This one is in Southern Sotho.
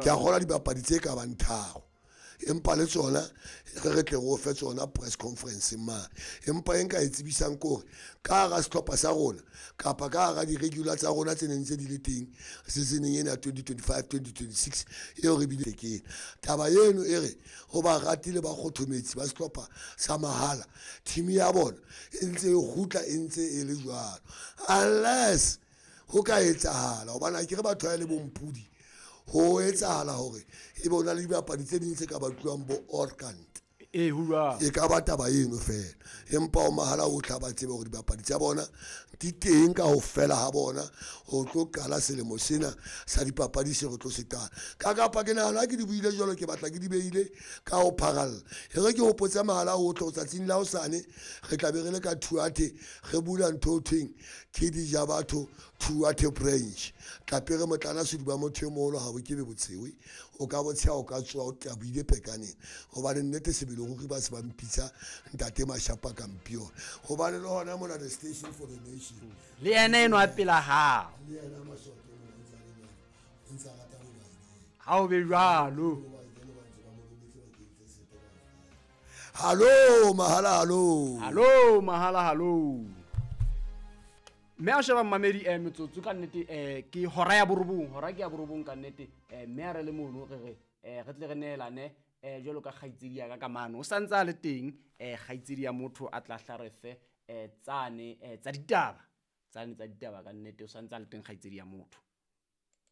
Ke a kgolwa dibapadi tse ka bang tharo, empa le tsona re re tle re o fe tsona press conference mane. Empa e nka e tsebisang ke hore ka hara sehlopha sa rona kapa ka hara di-regular tsa rona tse neng tse di le teng seasoneng ena ya 2025-2026 eo re bile ke ena. Taba eno e re ho barati le bakgothometsi ba sehlopha sa mahala, team ya bona e ntse e kgutla e ntse e le jwalo, unless ho ka etsahala hobane akere batho ha e le bompudi, ho etsahala hore e be o na le dibapadi tse ding tse ka batluwang bo orkant. Ee, ho jwalo. E ka ba taba eno fela, empa o mahala o tla ba tsebe hore dibapadi tsa bona di teng ka ho fela ha bona ho tlo qala selemo sena sa dipapadi se re tlo se qala. Ka kapa ke nahana ha ke di buile jwalo, ke batla ke di beile ka ho pharalla. E re ke hopotse mahala otlhe hore tsatsing la hosane re tla be re le ka Thuathe, re bula ntho ho thweng ke Dijabatho Thuathe branch. Tlapere motlana seduba motho e moholo ha bo kebe botshewe, o ka botsheha o ka tsoha o taboile pekaneng, hobane nnete sebele ruri ba se ba mpitsa ntate Mashapa Kampione, hobane le hona mona the station for the nation. Le yena enwa pela hao. Le yena Masoto mona o ntse a le jwalo, o ntse a rata bo Biden. Ha o be jwalo. Bo Biden ba ntse ba mo rometse bakeng tse sepe kaofela. Hallo, mahala, hallo. Hallo, mahala, hallo. Mme a sheba mmamedi, metsotso ka nnete, ke hora ya borobong, hora ke ya borobong ka nnete. Mme a re le mono re re, re tle re neelane, jwalo ka kgaitsedi ya ka ka mano. O santse a le teng, kgaitsedi ya motho a tla hla re fe, tsane, tsa ditaba. Tsane tsa ditaba ka nnete, o santse a le teng kgaitsedi ya motho.